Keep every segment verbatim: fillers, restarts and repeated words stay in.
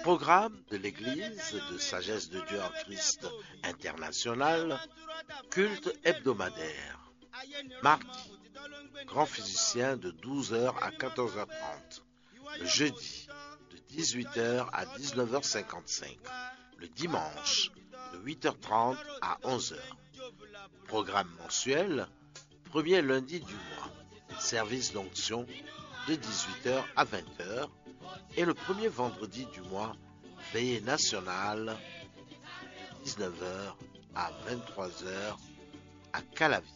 Programme de l'Église de Sagesse de Dieu en Christ International, culte hebdomadaire. Mardi, grand physicien de douze heures à quatorze heures trente. Le jeudi, de dix-huit heures à dix-neuf heures cinquante-cinq. Le dimanche, de huit heures trente à onze heures. Programme mensuel, premier lundi du mois, service d'onction de dix-huit heures à vingt heures. Et le premier vendredi du mois, veillée nationale de dix-neuf heures à vingt-trois heures à Calavi.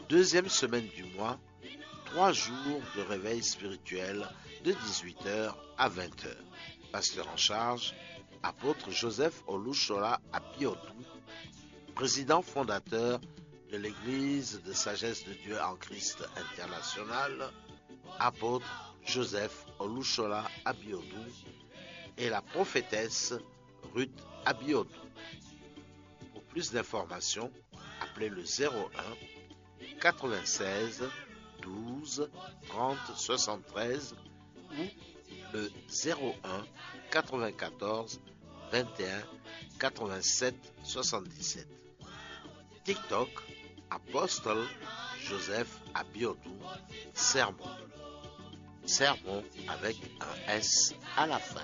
Deuxième semaine du mois, trois jours de réveil spirituel de dix-huit heures à vingt heures. Pasteur en charge, apôtre Joseph Olushola Abiodun, président fondateur de l'Église de Sagesse de Dieu en Christ International, apôtre Joseph Olushola Abiodun et la prophétesse Ruth Abiodun. Pour plus d'informations, appelez le zéro un quatre-vingt-seize douze trente soixante-treize ou le zéro un quatre-vingt-quatorze vingt et un quatre-vingt-sept soixante-dix-sept. TikTok, Apôtre Joseph Abiodun, Sermon. Sermon avec un S à la fin.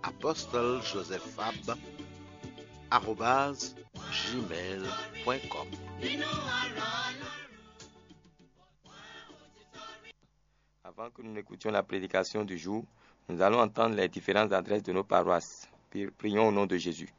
Apôtre Joseph Fab, arobase gmail point com. Avant que nous n'écoutions la prédication du jour, nous allons entendre les différentes adresses de nos paroisses. Pri- Prions au nom de Jésus.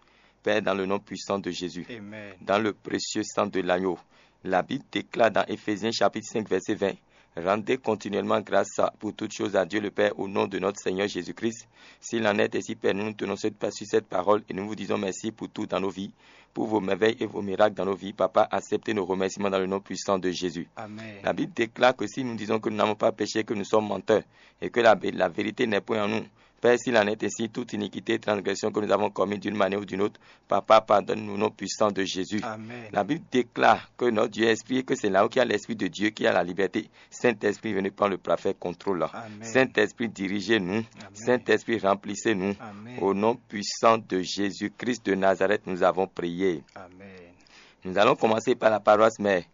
Père, dans le nom puissant de Jésus, Amen. Dans le précieux sang de l'agneau, la Bible déclare dans Éphésiens chapitre cinq, verset vingt, rendez continuellement grâce à- pour toutes choses à Dieu le Père au nom de notre Seigneur Jésus-Christ. S'il en est ainsi, Père, nous nous tenons cette- sur cette parole et nous vous disons merci pour tout dans nos vies, pour vos merveilles et vos miracles dans nos vies. Papa, acceptez nos remerciements dans le nom puissant de Jésus. Amen. La Bible déclare que si nous disons que nous n'avons pas péché, que nous sommes menteurs et que la, la vérité n'est point en nous. Père, s'il en est ainsi, toute iniquité et transgression que nous avons commise d'une manière ou d'une autre, Papa, pardonne-nous au nom puissant de Jésus. Amen. La Bible déclare que notre Dieu est esprit et que c'est là où il y a l'esprit de Dieu qui a la liberté. Saint-Esprit, venez prendre le parfait contrôle. Amen. Saint-Esprit, dirigez-nous. Amen. Saint-Esprit, remplissez-nous. Amen. Au nom puissant de Jésus-Christ de Nazareth, nous avons prié. Amen. Nous allons commencer par la paroisse mère,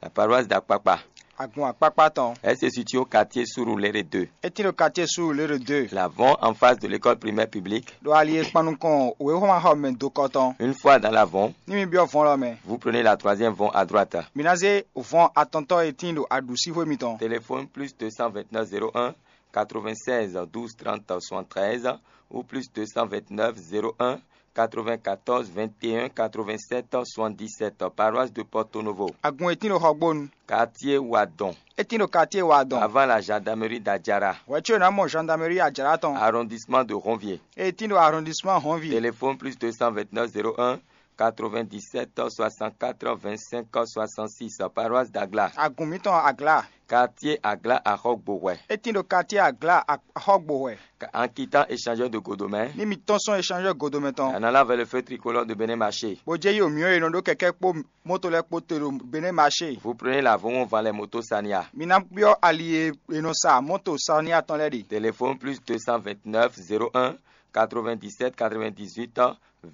la paroisse d'Akpakpa. Agun Akpakpa tɔn. Elle se situe au quartier Surulere deux. Eti ɖo quartier Surulere deux. L'avant en face de l'école primaire publique. Ɖo ali e kpan nukɔn wěxɔmaxɔmɛ dokɔ tɔn. Une fois dans l'avant, ni mi byɔ́ vɔn lɔ mɛ. Vous prenez la troisième vɔn à droite. Mi ná zé vɔn atɔntɔ e tíin ɖo aɖǔsíxwé mitɔn. Téléphone plus deux cent vingt-neuf zéro un quatre-vingt-seize douze trente soixante-treize ou plus deux cent vingt-neuf zéro un quatre-vingt-quatorze vingt et un quatre-vingt-sept soixante-dix-sept, paroisse de Porto Novo. Agun e tíin ɖo Xɔgbónu. Quartier Wadon. E tíin ɖo quartier Wadon. Avant la gendarmerie d'Adjara. Hwɛ̌ có è nǎ mɔ gendarmerie Adjara tɔn. Arrondissement de Ronvier. E tíin ɖo arrondissement Ronvier. Téléphone plus deux cent vingt-neuf zéro un quatre-vingt-dix-sept soixante-quatre vingt-cinq soixante-six, paroisse d'Agla. Agun mǐtɔn Agla. Quartier Agla Axɔgbohwɛ. E tíin ɖo quartier Agla Axɔgbohwɛ. En quittant échangeur de Godomɛ. Ni mi tɔ́n sɔn échangeur Godomɛ tɔn. En allant vers le feu tricolore de Bénin Marché. Bó jɛ yi omyɔ e nɔ ɖó kɛkɛ kpó moto lɛ́ɛ kpó te ɖo Bénin Marché. Vous prenez la Vomon Valais Moto Sania. Mi ná byɔ́ ali e è nɔ sa moto Sania tɔn lɛ́ɛ ɖe. Téléphone plus deux cent vingt-neuf zéro un quatre-vingt-dix-sept quatre-vingt-dix-huit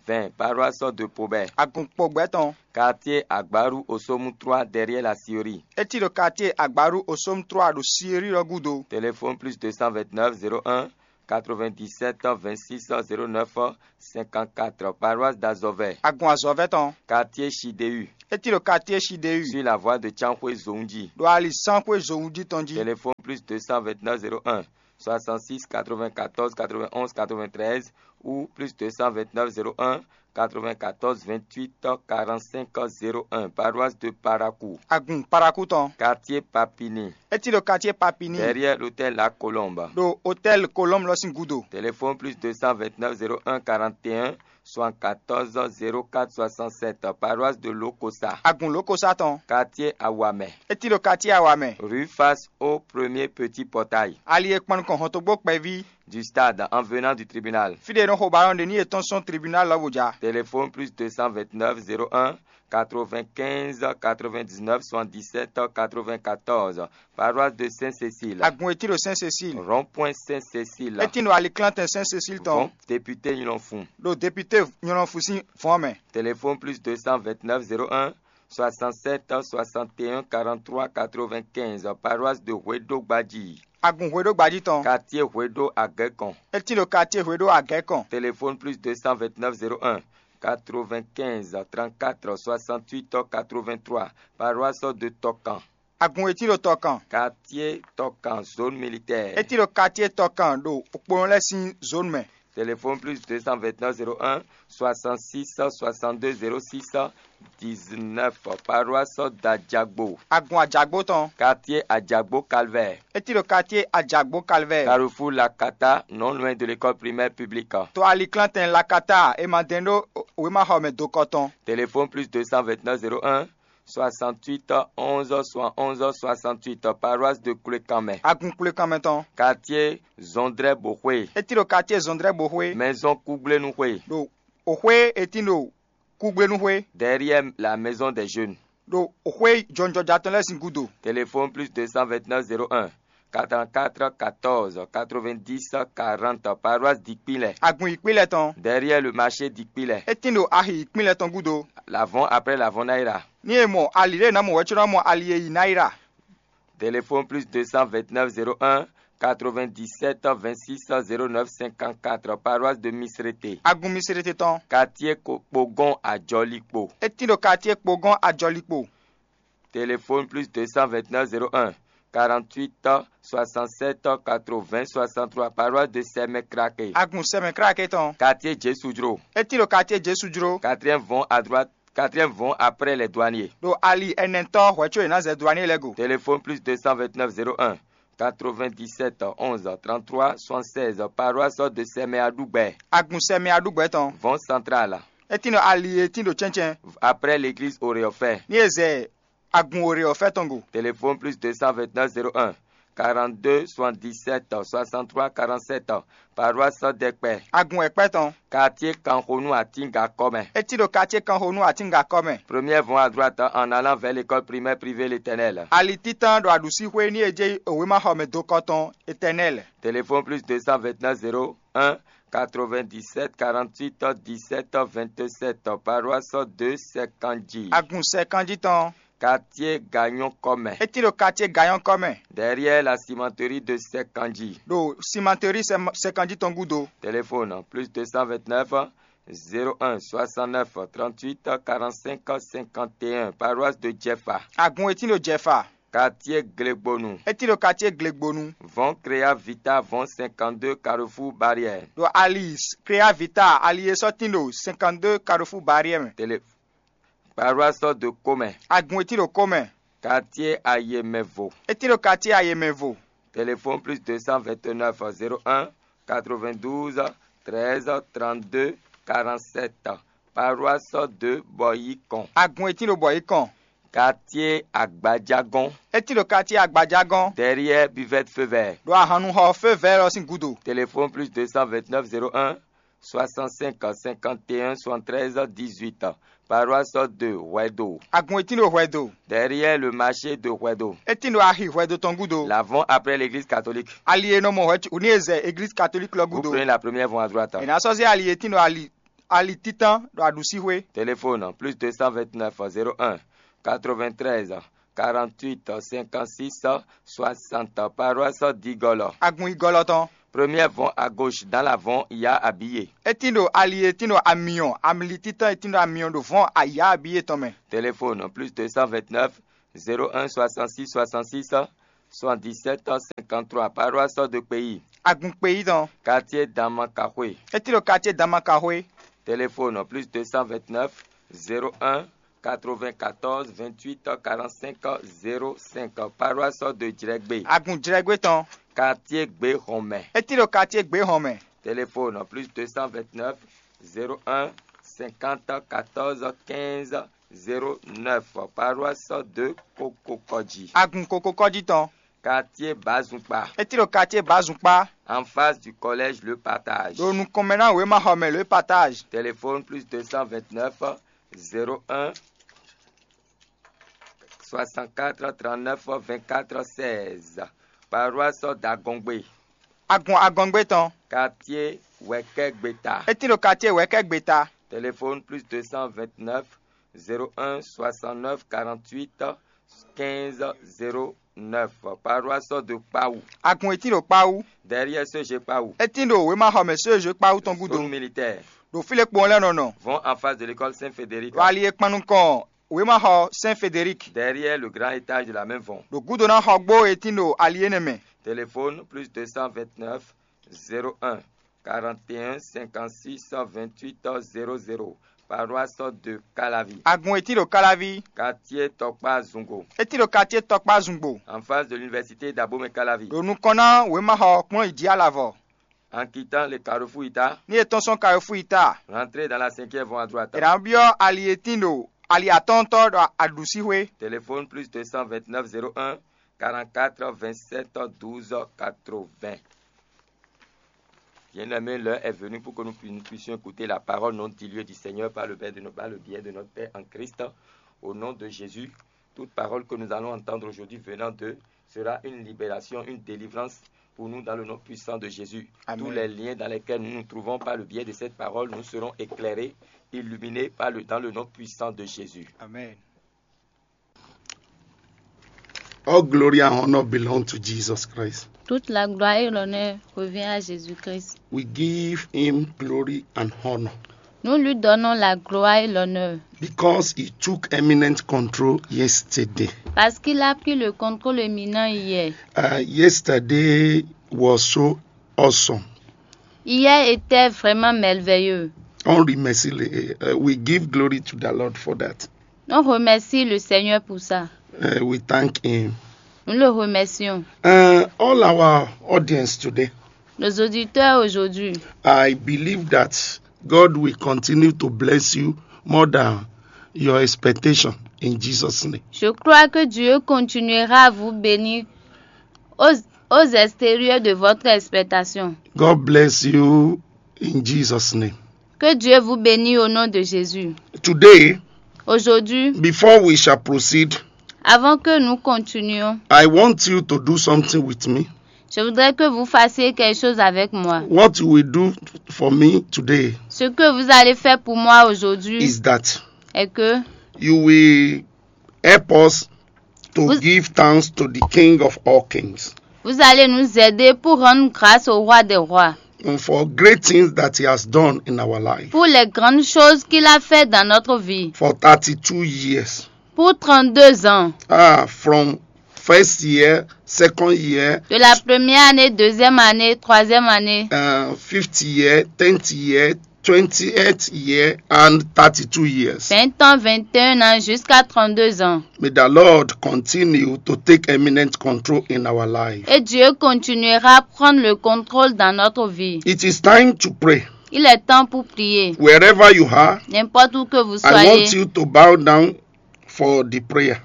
vingt, paroisse de Pobɛ. Agun Pobɛ tɔn. Quartier Agbaru Osomu trois derrière la Siri. E tíin ɖo quartier Agbaru Osomu trois ɖo Siri lɔ gúdo. Téléphone plus deux cent vingt-neuf zéro un quatre-vingt-dix-sept vingt-six zéro neuf cinquante-quatre, paroisse d'Azɔvɛ. Agun Azɔvɛ tɔn. Quartier Chideu. E tíin ɖo quartier Chideu. Sur la voie de Tsanxwé Zonji. Ɖo ali Sanxwé Zonji tɔn jí. Téléphone plus deux cent vingt-neuf zéro un soixante-six quatre-vingt-quatorze quatre-vingt-onze quatre-vingt-treize ou plus deux cent vingt-neuf zéro un quatre-vingt-quatorze vingt-huit quarante-cinq zéro un, paroisse de Parakou. Agun Parakou tɔn. Quartier Papini. E tíin ɖo quartier Papini. Derrière l'hôtel La Colombe. Ɖo hôtel Colombe lɔ sín gúdo. Téléphone plus deux cent vingt-neuf zéro un quarante et un soixante-quatorze zéro quatre soixante-sept, paroisse de Lokosa. Agun Lokosa tɔn. Quartier Awamɛ. E tíin ɖo quartier Awamɛ. Rue face au premier petit portail. Ali e kpan nukɔn hɔntogbó kpɛví. du stade en venant du tribunal. Fí ɖé e nɔ xo balɔn ɖe ní yětɔn sɔn tribunal lɔ bó ja. Téléphone plus deux cent vingt-neuf zéro un quatre-vingt-quinze quatre-vingt-dix-neuf soixante-dix-sept quatre-vingt-quatorze. Paroisse de Saint-Cécile. Agun e tín ɖo Saint-Cécile. Rond-point Saint-Cécile. E tín ɖo aliklantɛn Saint-Cécile tɔn. Bon, député Nylonfou. Ɖo député Nylonfou sín vɔ̌ mɛ. Téléphone plus deux cent vingt-neuf zéro un soixante-sept soixante et un quarante-trois quatre-vingt-quinze, paroisse de Hweɖo Gbadji. Agun Hweɖo Gbadji tɔn. Quartier Hweɖo Agɛkɔn. E tín ɖo quartier Hweɖo Agɛkɔn. Téléphone plus deux cent vingt-neuf zéro un quatre-vingt-quinze trente-quatre soixante-huit quatre-vingt-trois, paroisse de Tɔkan. Agun e tín ɖo Tɔkan. Quartier Tɔkan, zone militaire. E tín ɖo quartier Tɔkan ɖo okponɔ lɛ́ɛ sín zone mɛ. Téléphone plus deux cent vingt-neuf zéro un soixante-six soixante-deux zéro six dix-neuf, paroisse d'Adjagbo. Agun Ajagbo tɔn. Quartier Adjagbo Calvaire. E tín ɖo quartier Ajagbo Calvaire. Carrefour Lakata, non loin de l'école primaire publique. To aliklantɛn Lakata e ma dɛn ɖó wěmaxɔmɛ dokɔ tɔn. Téléphone plus deux cent vingt-neuf zéro un soixante-huit onze soixante-onze soixante-huit, paroisse de Koulékanmɛ. Agun Koulékanmɛ tɔn. Quartier Zɔndrɛ Boxwe. E tín ɖo quartier Zɔndrɛ Boxwe. Maison Kougblénouxwe. Ɖo oxwé e tín ɖo Kougblénouxwe. Derrière la maison des jeunes. Ɖo oxwé jɔnjɔja tɔn lɛ́ɛ sín gúdo. Téléphone plus deux cent vingt-neuf zéro un quatre-vingt-quatre quatorze quatre-vingt-dix quarante, paroisse Dikpilɛ. Agun Yikpilɛ tɔn. Derrière le marché Dikpilɛ. E tín ɖo axi Yikpilɛ tɔn gúdo. L'avant après l'avant Naira. Ní e mɔ ali ɖé ná mɔ wɛ̌ có ná mɔ ali e yi Naira. Téléphone plus deux cent vingt-neuf zéro un quatre-vingt-dix-sept vingt-six zéro neuf cinquante-quatre, paroisse de Misrete. Agun Misrete tɔn. Quartier Kpogɔn Ajɔlikpo. E tín ɖo quartier Kpogɔn Ajɔlikpo. Téléphone plus deux cent vingt-neuf zéro un quarante-huit soixante-sept quatre-vingts soixante-trois, paroisse de Sɛmɛ Krake. Agun Sɛmɛ Krake tɔn. Quartier Jésus Jro. E tín ɖo quartier Jésus Jro. Quatrième vont à droite, quatrième vont après les douaniers. Ɖo ali ɛnɛtɔ́ hwɛ̌ có è nǎ zɛ douanier lɛ́ɛ go. Téléphone plus deux cent vingt-neuf zéro un quatre-vingt-dix-sept onze trente-trois soixante-seize, paroisse de Sɛmɛ Aɖugbɛ. Agun Sɛmɛ Aɖugbɛ tɔn. Vont central. E tín ɖo ali e tín ɖo cɛ́ncɛ́n. Après l'église Oreofɛ. Ní e zɛ agun Oreofɛ tɔn go. Téléphone plus deux cent vingt-neuf zéro un quarante-deux soixante-dix-sept soixante-trois quarante-sept, paroisse Dɛkpɛ. Agun Ɛkpɛ tɔn. Quartier Kanxonu Atinga kɔmɛ. E tín ɖo quartier Kanxonu Atinga kɔmɛ. Première vont à droite en allant vers l'école primaire privée L'Éternel. Ali títán ɖo aɖǔsíxwé ní e jɛ wěmaxɔmɛ dokɔ tɔn Éternel. Téléphone plus deux cent vingt-neuf zéro un quatre-vingt-dix-sept quarante-huit dix-sept vingt-sept, paroisse de Sɛkanji. Agun Sɛkanji tɔn. Quartier Gagnon kɔmɛ. E tín ɖo quartier Gagnon kɔmɛ. Derrière la cimenterie de Sɛkanji. Ɖo cimenterie Sɛ-, Sɛkanji tɔn gúdo. Téléphone plus deux cent vingt-neuf zéro un soixante-neuf trente-huit quarante-cinq cinquante et un, paroisse de Jɛfa. Agun e tín ɖo Jɛfa. Quartier Glegbonu. E tín ɖo quartier Glegbonu. Vont Créa Vita, vont cinquante-deux Carrefour Barrière. Ɖo ali Créa Vita, ali e sɔ́ tín ɖo cinquante-deux Carrefour Barrière mɛ. Télé-, paroisse de Comɛ. Agun e tín ɖo Comɛ. Quartier Ayemɛvo. E tín ɖo quartier Ayemɛvo. Téléphone plus deux cent vingt-neuf zéro un quatre-vingt-douze treize trente-deux quarante-sept. Paroisse de Bɔyikɔn. Agun e tín ɖo Bɔyikɔn. Quartier Agbajagɔn. E tín ɖo quartier Agbajagɔn. Derrière buvette feu vert. Ɖo ahannuxɔ feu vert lɔ sín gúdo. Téléphone plus deux cent vingt-neuf zéro un soixante-cinq cinquante et un soixante-treize dix-huit. Paroisse de Hwɛdo. Agun e tín ɖo Hwɛdo. Derrière le marché de Hwɛdo. E tín ɖo axi Hwɛdo tɔn gúdo. L'avant après l'église catholique. Ali e nɔ mɔ hwɛ ní e zɛ église catholique lɔ Vous gúdo. Prenez la première voie à droite. È nǎ sɔ́ zé ali e tín ɖo ali ali títán ɖo aɖǔsíxwé. Téléphone plus deux cent vingt-neuf zéro un quatre-vingt-treize quarante-huit cinquante-six soixante, paroisse Digɔlɔ. Agun Igɔlɔ tɔn. Première vont à gauche dans l'avant, il y a Abiye. E tín ɖo ali e tín ɖo amyɔ, amli títán e tín ɖo amyɔ ɖo vɔn ayǎ Abiye tɔn mɛ. Téléphone plus deux cent vingt-neuf zéro un soixante-six soixante-six soixante-dix-sept cinquante-trois, paroisse de Pays. Agun Pays tɔn. Quartier Damakaxwe. E tín ɖo quartier Damakaxwe. Téléphone plus deux cent vingt-neuf zéro un quatre-vingt-quatorze vingt-huit quarante-cinq zéro cinq, paroisse de Djrɛgbé. Agun Djrɛgbé tɔn. Quartier Gbéhɔnmɛ. E tín ɖo quartier Gbéhɔnmɛ. Téléphone plus deux cent vingt-neuf zéro un cinquante quatorze quinze zéro neuf, paroisse de Kokokɔji. Agun Kokokɔji tɔn. Quartier Bazumpa. É tín ɖo quartier Bazumpa. En face du collège Le Partage. Ɖo nukɔn mɛ ná wěmaxɔmɛ Le Partage. Téléphone plus deux cent vingt-neuf, zéro un, soixante-quatre, trente-neuf, vingt-quatre, seize. Paroisse d'Agongbe. Agun Agongbe tɔn. Quartier Wɛkɛgbeta. É tín ɖo quartier Wɛkɛgbeta. Téléphone plus deux cent vingt-neuf, zéro un, soixante-neuf, quarante-huit, quinze, zéro neuf. Paroisse de Kpawu. Agun e tín ɖo Kpawu. Derrière C G Kpawu. É tín ɖo wěmaxɔmɛ C G Kpawu tɔn gúdo. Zone militaire. Ɖo fí lě kpowun lɛ́ɛ nɔ nɔ. Vont en face de l'école Saint-Frédéric. Ɖo ali e kpan nukɔn wěmaxɔ Saint Frédéric. Derrière le grand étage de la même vont. Ɖo gúdo ná xɔgbó e tín ɖo ali énɛ́ mɛ. Téléphone plus deux cent vingt-neuf, zéro un, quarante et un, cinquante-six, vingt-huit, zéro zéro. Paroisse de Calavi. Agun e tín ɖo Calavi. Quartier Tɔkpa Zungo. É tín ɖo quartier Tɔkpa Zungbo. En face de l'université d'Abomey Calavi. Ɖo nukɔn ná wěmaxɔ kplɔ́n yi jí alavɔ. En quittant le carrefour Ita. Ní è tɔ́n sɔ́ carrefour Ita. Rentrez dans la cinquième vont à droite. È nǎ byɔ́ ali e tín ɖo ali atɔ́ɔ́ntɔ́ ɖo aɖǔsíxwé. Téléphone plus deux cent vingt-neuf, zéro un, quarante-quatre, vingt-sept, douze, quatre-vingts. Bien-aimés, l'heure est venue pour que nous pu- nous puissions écouter la parole non diluée du Seigneur par le biais de, no- par le biais de notre Père en Christ. Au nom de Jésus, toute parole que nous allons entendre aujourd'hui venant d'eux sera une libération, une délivrance pour nous dans le nom puissant de Jésus. Amen. Tous les liens dans lesquels nous nous trouvons par le biais de cette parole, nous serons éclairés, illuminés par le, dans le nom puissant de Jésus. Amen. All glory and honor belong to Jesus Christ. Toute la gloire et l'honneur revient à Jésus-Christ. We give him glory and honor. Nous lui donnons la gloire et l'honneur. Because he took eminent control yesterday. Parce qu'il a pris le contrôle éminent hier. Uh, yesterday was so awesome. Hier était vraiment merveilleux. On remercie le- uh, we give glory to the Lord for that. On remercie le Seigneur pour ça. Uh, we thank him. Nous le remercions. Uh, all our audience today, Nos auditeurs aujourd'hui, I believe that God will continue to bless you more than your expectation in Jesus' name. Je crois que Dieu continuera à vous bénir aux, aux extérieurs de votre expectation. God bless you in Jesus' name. Que Dieu vous bénisse au nom de Jésus. Today, Aujourd'hui, before we shall proceed, avant que nous continuions, I want you to do something with me. Je voudrais que vous fassiez quelque chose avec moi. What you will do for me today, ce que vous allez faire pour moi aujourd'hui, is that est que you will help us to vous, give thanks to the King of all kings. Vous allez nous aider pour rendre grâce au Roi des rois. And for great things that he has done in our life. Pour les grandes choses qu'il a fait dans notre vie. For thirty-two years. Pour trente-deux ans. Ah, from first year, second year, de la première année, deuxième année, troisième année, uh, fifth year, tenth year, twenty-eighth year, and thirty-two years. Vingt ans, vingt et un ans, jusqu'à trente-deux ans. May the Lord continue to take eminent control in our life. Et Dieu continuera à prendre le contrôle dans notre vie. It is time to pray. Il est temps pour prier. Wherever you are, n'importe où que vous soyez, I want you to bow down for the prayer.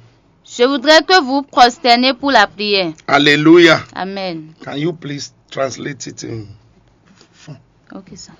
Je voudrais que vous prosternez pour la prière. Hallelujah. Amen. Can you please translate it in? Ok, sir.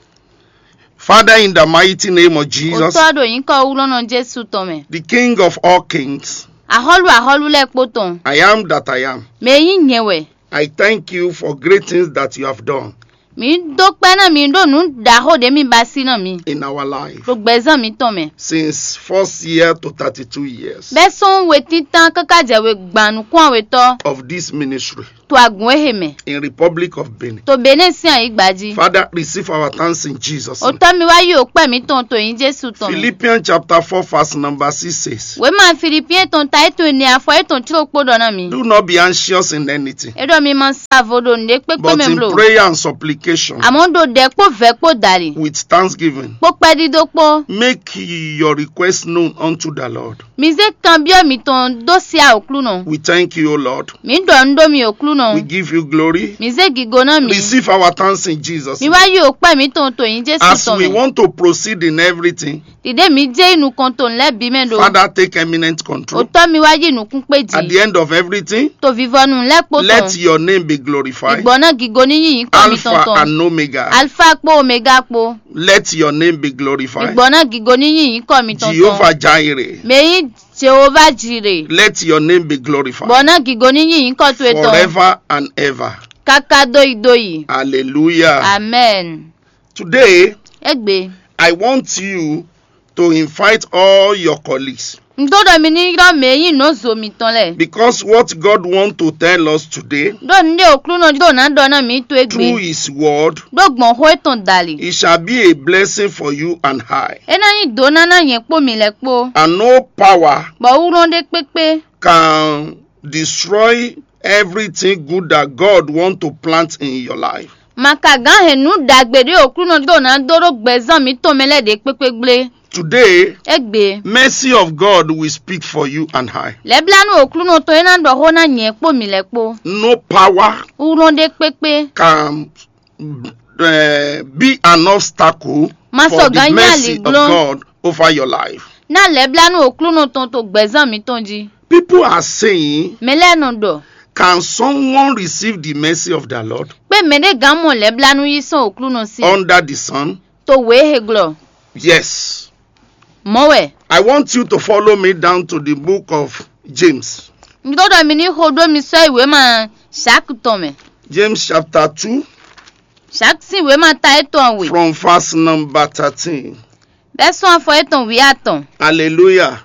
Father, in the mighty name of Jesus, Otɔ́ ɖo nyǐkɔ wúlɔ́nɔ Jésù tɔn mɛ. The King of all kings, Axɔ́lú axɔ́lú lɛ́ɛ kpó tɔn. I am that I am. Mɛ e nyí nyɛ wɛ. I thank you for great things that you have done. Mǐ dó kpɛ́ ná mi ɖó nǔ ɖaxó ɖě mi ba sí ná mi. In our life. Ɖo gbɛzán mǐtɔn mɛ. Since first year to thirty-two years. Bɛ́ sɔ́n wetítán káká jɛ we gban nǔkún awetɔ́. Of this ministry. To agun e he mɛ. In Republic of Benin. To Benin sín ayǐgba jí. Father, receive our thanks in Jesus' name. Otɔ́ mi wá yí òkpɛ mǐtɔn to nyí Jésù tɔn mɛ. Philippians chapter four, verse number six says, Wěma Filipiyɛn tɔn ta étɔn ne afɔ étɔn cló kpó ɖɔ ná mi. Do not be anxious in anything. É ɖɔ mi ma sa vo ɖo nǔɖé kpékpé But mɛ in bló. Prayer and supplication. supplication, Àmọ́ ɖo ɖɛ kpó vɛ̌ kpó dali, with thanksgiving. Kpó kpɛɖíɖó kpó. Make your request known unto the Lord. Mi zé kanbyɔ́ mitɔn dó sí Aklúnɔ. We thank you, O Lord. Mǐ ɖɔ nǔ ɖó mi Oklúnɔ. We give you glory. Mǐ zé gigo ná mi. Receive our thanks in Jesus' Mi name. Wá yí òkpá mǐtɔn to nyí Jésù As tɔn we mɛ. Want to proceed in everything, Ɖiɖe mǐ jɛ yi nukɔn to nǔ lɛ́ɛ bǐ mɛ ɖo. Father, take eminent control. Òtɔ́ mi wá yí nǔkún kpé At the jí. End of everything, To vivɔnu lɛ́ɛ kpo let tɔn. Your name be glorified. Ìgbɔ náà gígo ní yí nyǐkɔ mitɔn Alpha tɔn. And Omega. Alfa kpó Omega kpó. Let your name be glorified. Ìgbɔ náà gígo ní yí nyǐkɔ mitɔn tɔn. Jehovah Jireh. Mɛ yí Jehova Jireh. Let your name be glorified. Gbɔ náà gígo ní yí nyǐkɔ towe tɔn. Forever and ever. Káká dóyi dóyi. Hallelujah. Amen. Today, Egbe. I want you to invite all your colleagues. N dó ɖɔ mi ní ylɔ́ mɛ e nyí nɔzo mitɔn lɛ́ɛ. Because what God wants to tell us today Ɖó nǔɖé Oklúnɔ ɖó ná ɖɔ ná mǐ to through egbe. His word, Ɖó gbɔn xó etɔn dali. It shall be a blessing for you and I. É ná nyí dǒ ná ná nyɛ kpó mi lɛ́ɛ kpó. And no power Bɔ wúlɔ́n ɖé kpékpé. Can destroy everything good that God want to plant in your life. Ma ka gǎn hɛn nǔ ɖagbe ɖé Oklúnɔ ɖó ná dó ɖó gbɛzán mǐtɔn mɛ lɛ́ɛ ɖě kpékpé gblé. Today, Egbe. Mercy of God will speak for you and I. Lɛ̌blánú Oklúnɔ tɔn é ná ɖɔ xó ná nyɛ kpó mǐ lɛ́ɛ kpó. No power Wúlɔ́n ɖé kpékpé. Can uh, be an obstacle Ma for sɔ the gǎn nyí mercy of aliglɔ́n. God over your life. Ná lɛ̌blánú Oklúnɔ tɔn to gbɛzán mǐtɔn jí. People are saying, Mɛ lɛ́ɛ nɔ ɖɔ, can someone receive the mercy of the Lord pé mɛɖé gǎn mɔ lɛ̌blánú yí sɔ́ Oklúnɔ sí under the sun? To wě he glɔ. Yes. Mɔ̌ wɛ. I want you to follow me down to the book of James. Un ɖó ɖɔ mi ní xo ɖó mi sɔ́ yi wěma Zaki tɔn mɛ. James chapter two, Zaki sín wěma ta étɔn we. From verse number thirteen. Bɛ́ sɔ́ afɔ étɔn wǐ atɔn. Hallelujah.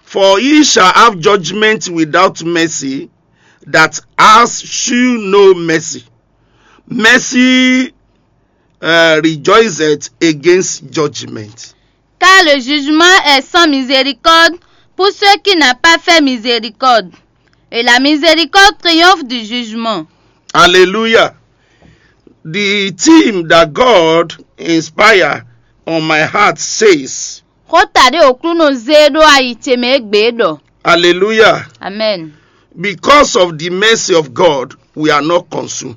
For he shall have judgment without mercy, that has shew no mercy. Mercy uh, rejoiceth against judgment. Car le jugement est sans miséricorde pour ceux qui n'ont pas fait miséricorde. Et la miséricorde triomphe du jugement. Hallelujah. The theme that God inspired on my heart says, Xó ta ɖé Oklúnɔ zé ɖó ayi ce mɛ égbé ɖɔ. Hallelujah. Amen. Because of the mercy of God, we are not consumed.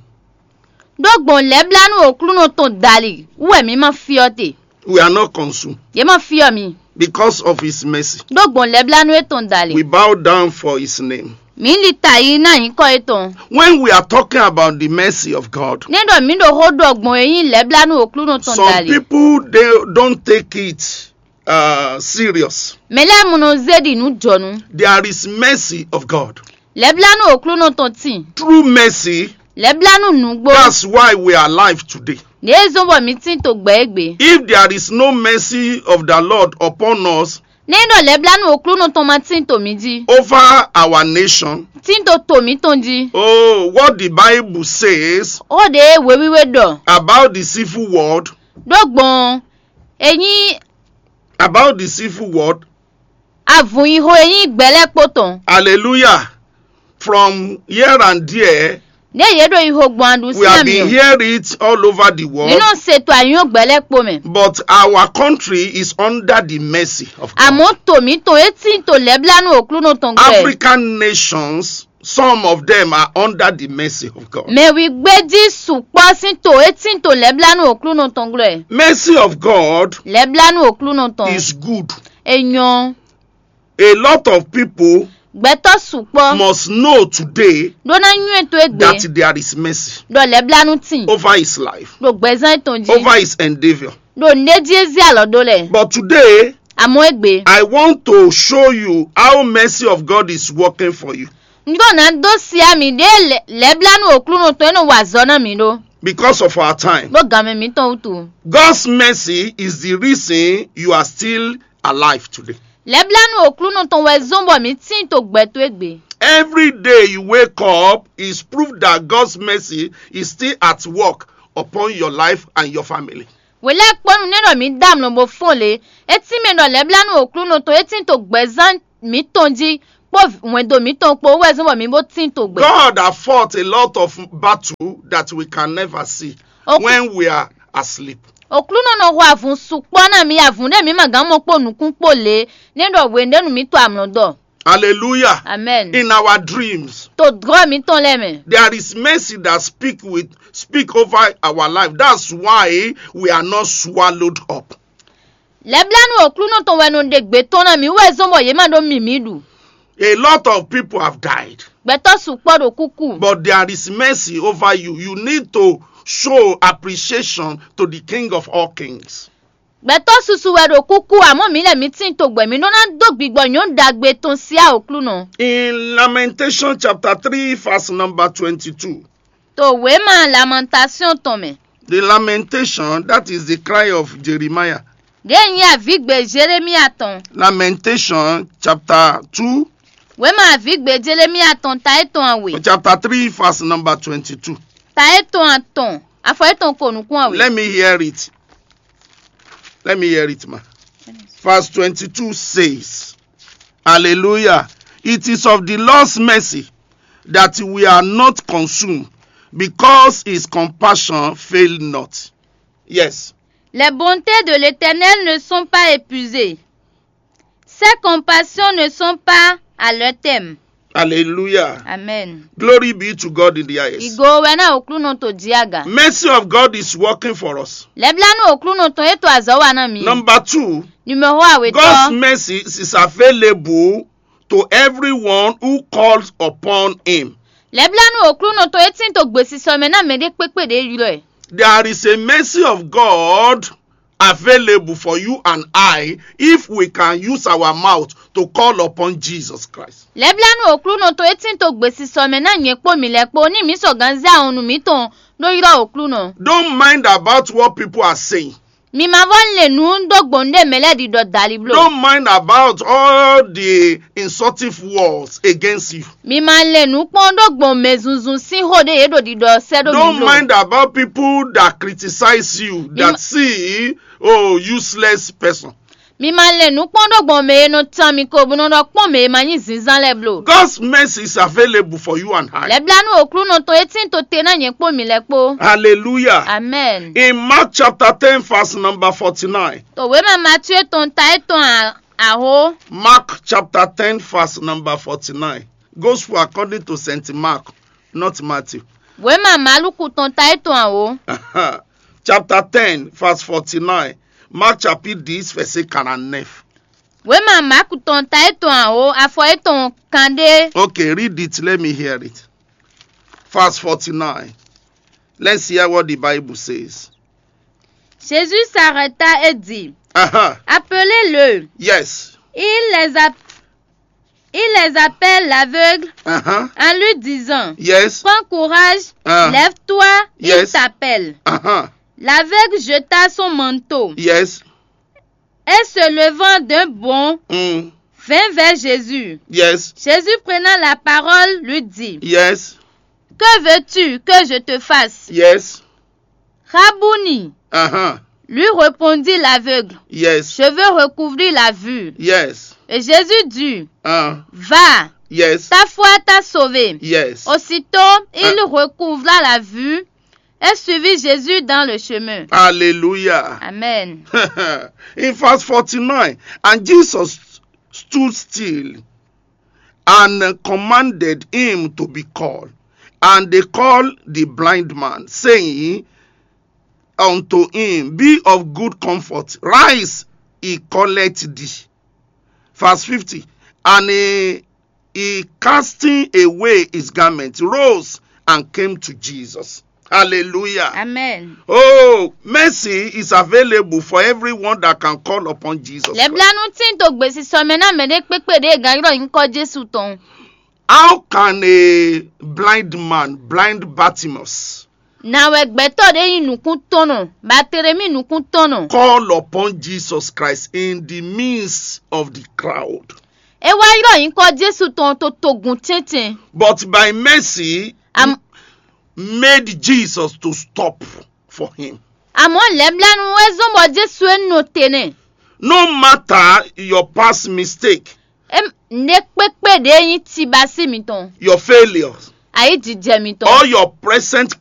Ɖó gbɔn lɛ̌blánú Oklúnɔ tɔn dali wú wɛ mǐ ma fyɔ́ te. We are not consumed Yě ma fyɔ́ mi. Because of his mercy. Ɖó gbɔn lɛ̌blánú étɔn dali. We bow down for his name. Mǐ li ta yi ná nyǐkɔ étɔn. When we are talking about the mercy of God, Ní ɖɔ mǐ ɖo xó ɖɔ gbɔn e nyí lɛ̌blánú Oklúnɔ tɔn some dali. People, they don't take it uh, serious. Mɛ lɛ́ɛ mɔ nɔ zé ɖi nǔ jɔnu. There is mercy of God. Lɛ̌blánú Oklúnɔ tɔn tíin. Through mercy, Lɛ̌blánú nǔgbó. That's why we are alive today. Ní é zɔ́n bɔ mǐ tín to gbɛ égbé. If there is no mercy of the Lord upon us, Ní ɖɔ lɛ̌blánú Oklúnɔ tɔn ma tín to mǐ jí. Over our nation, Tín to to mǐtɔn jí. Oh, what the Bible says Ó ɖe wěwíwé ɖɔ. About the civil world, Ɖó gbɔn e nyí about the civil world, Avun yi xo e nyí gbɛ̌ lɛ́ɛ kpó tɔn. Hallelujah. From here and there, Ní yě ɖo yi xo gbɔn aɖu we have sín been mì. Hearing it all over the world. Mǐ nɔ se to anyɔ́ gbɛ̌ lɛ́ɛ kpó mɛ. But our country is under the mercy of God. Àmọ́ to mǐtɔn é tín to lɛ̌blánú Oklúnɔ tɔn gbɛ. African nations, some of them are under the mercy of God. Mɛ wǐgbéjí sukpɔ́ sín to é tín to lɛ̌blánú Oklúnɔ tɔn gbɛ. Mercy of God Lɛ̌blánú Oklúnɔ tɔn. Is good. É nyɔ́. A lot of people Gbɛtɔ́ sukpɔ́ must know today Ɖó ná nywɛ́ to égbé that there is mercy Ɖɔ lɛ̌blánú tíin over his life, Ɖo gbɛzán étɔn jí over his endeavor. Ɖo nǔɖé jí é zé alɔ ɖó lɛ. But today, Àmọ́ égbé I want to show you how mercy of God is working for you. Un ɖó ná dó sia mǐ ɖě lɛ̌- lɛ̌blánú Oklúnɔ tɔn é nɔ wa azɔ̌ ná mǐ ɖó. Because of our time, Ɖó ganmɛ mǐtɔn wútu. God's mercy is the reason you are still alive today. Lɛ̌blánú Oklúnɔ tɔn wɛ zɔ́n bɔ mǐ tíin to gbɛ towe gbe. Every day you wake up is proof that God's mercy is still at work upon your life and your family. Wělɛ́kpɔ́nú nɛ́ ɖɔ mǐ dó amlɔ bó fɔ́n lě, é tín mɛ ɖɔ lɛ̌blánú Oklúnɔ tɔn é tín to gbɛzán mǐtɔn jí kpó hwɛndo mǐtɔn kpó wɛ zɔ́n bɔ mǐ bó tín to gbɛ. God has fought a lot of battle that we can never see. Ok. When we are asleep. Oklúnɔ nɔ xo avun sukpɔ́ ná mì, avun ɖé mǐ ma gán mɔ kpó nukún kpó lě, nɛ́ ɖɔ hwenu ɖé nu mǐ to amlɔ dɔ. Hallelujah. Amen. In our dreams, to drɔ mǐtɔn lɛ́ɛ mɛ. There is mercy that speak with speak over our life. That's why we are not swallowed up. Lɛblanu Oklúnɔ tɔn wɛ nɔ ɖe gbe tɔn ná mǐ wɛ zɔ́n bɔ yě ma ɖó mǐmí ɖu. A lot of people have died. Gbɛtɔ́ sukpɔ́ ɖo kúkú. But there is mercy over you. You need to show appreciation to the King of all kings. Gbɛtɔ́ susu wɛ ɖo kúkú, amɔ̌ mǐ lɛ́ mǐ tín togbɛ mǐ nɔ ná dó gbigbɔ nyɔ̌nu ɖagbe tɔn síá Oklúnɔ. In Lamentation chapter three, verse number twenty-two. To wěma Lamentation tɔn mɛ. The lamentation, that is the cry of Jeremiah. Ɖě nyí avǐgbe Jelemia tɔn. Lamentation chapter two. Wěma avǐgbe Jelemia tɔn ta étɔn awe. Chapter three, verse number twenty-two. Ta étɔn atɔn, afɔ étɔn ko nukún awe. Let me hear it. Let me hear it, ma. Verse twenty-two says, Hallelujah. It is of the Lord's mercy that we are not consumed, because his compassion fail not. Yes. Les bontés de l'Éternel ne sont pas épuisées. Ses compassions ne sont pas à leur terme. Hallelujah. Amen. Glory be to God in the highest. Ìgò wɛ ná Oklúnɔ tó jí àgà. Mercy of God is working for us. Lɛblanu Oklúnɔ tɔn é to azɔ̌ wa ná mi. Number two, Numéro àwetɔ. God's mercy is available to everyone who calls upon him. Lɛblanu Oklúnɔ tɔn é tín to gbesisɔ mɛ ná mɛ ɖé kpékpé ɖě ylɔ́ ɛ. There is a mercy of God available for you and I if we can use our mouth to call upon Jesus Christ. Lɛblanu Oklúnɔ tɔn é tín to gbesisɔ mɛ ná nyɛ kpó mi lɛ́ kpó ní mǐ sɔgán zé ahɔnnu mǐtɔn ɖó ylɔ́ Oklúnɔ. Don't mind about what people are saying. Mi ma vɔ lé nǔ dó gbɔn ɖé mɛ lɛ́ ɖiɖɔ dali bló. Don't mind about all the insultive words against you. Mi ma lé nǔ kpɔ́n ɖó gbɔn mɛ zunzun sín xó ɖé yě ɖo ɖiɖɔ sɛ́ ɖó mi bló. Don't mind about people that criticize you, that see, oh, useless person. Mi ma lé nǔ kpɔ́n ɖó gbɔn mɛ e nɔ tan mi ko bó nɔ ɖɔ kpɔ́n mɛ e ma nyí zínzán lɛ́ɛ bló. God's mercy is available for you and I. Lɛblanu Oklúnɔ tɔn é tín to te ná nyɛ kpó mi lɛ́ kpó. Hallelujah. Amen. In Mark chapter ten, verse number forty-nine. To wěma Matíe tɔn ta étɔn a- aho. Mark chapter ten, verse number forty-nine. Gospel according to Saint Mark, not Matthew. Wěma Maluku tɔn ta étɔn aho. Chapter ten, verse forty-nine. Mark chapitre dix, verset quarante-neuf. Wěma Maku tɔn ta étɔn aho, afɔ étɔn kanɖé. Okay, read it. Let me hear it. Verse forty-nine. Let's hear what the Bible says. Jésus s'arrêta et dit, uh-huh. Appelez-le. Yes. Il les a- Il les appelle l'aveugle uh-huh. En lui disant, yes. Prends courage, uh-huh. Lève-toi, yes. Il t'appelle. Uh-huh. L'aveugle jeta son manteau. Yes. Et se levant d'un bond, mm. Vint vers Jésus. Yes. Jésus prenant la parole lui dit, yes. Que veux-tu que je te fasse? Yes. Rabouni, uh-huh. Lui répondit l'aveugle, yes. Je veux recouvrir la vue. Yes. Et Jésus dit, uh. Va, yes. Ta foi t'a sauvé. Yes. Aussitôt, il uh. Recouvra la vue et suivit Jésus dans le chemin. Hallelujah. Amen. In verse forty-nine, and Jesus stood still and commanded him to be called. And they called the blind man, saying unto him, be of good comfort, rise, he calleth thee. Verse fifty. And he, he casting away his garment, rose and came to Jesus. Hallelujah. Amen. Oh, mercy is available for everyone that can call upon Jesus Christ. Lɛblanu tín to gbesisɔ mɛ ná mɛ ɖé kpékpé ɖě gán ylɔ́ nyǐkɔ Jésù tɔn. How can a blind man, blind Bartimaeus, na wɛ gbɛtɔ́ ɖé nyí nǔkúntɔ́nnɔ, Batlemi nǔkúntɔ́nnɔ, call upon Jesus Christ in the midst of the crowd? É wá ylɔ́ nyǐkɔ Jésù tɔn to togun tɛ́ntɛn. But by mercy, am- made Jesus to stop for him. Àmọ́ lɛ̌blɛ́nu é zɔ́n bɔ Jésù é nɔ te nɛ́. No matter your past mistake, é nǔɖé kpékpé ɖě nyí tibasí mitɔn, your failures, ayǐjijɛ mitɔn, or your present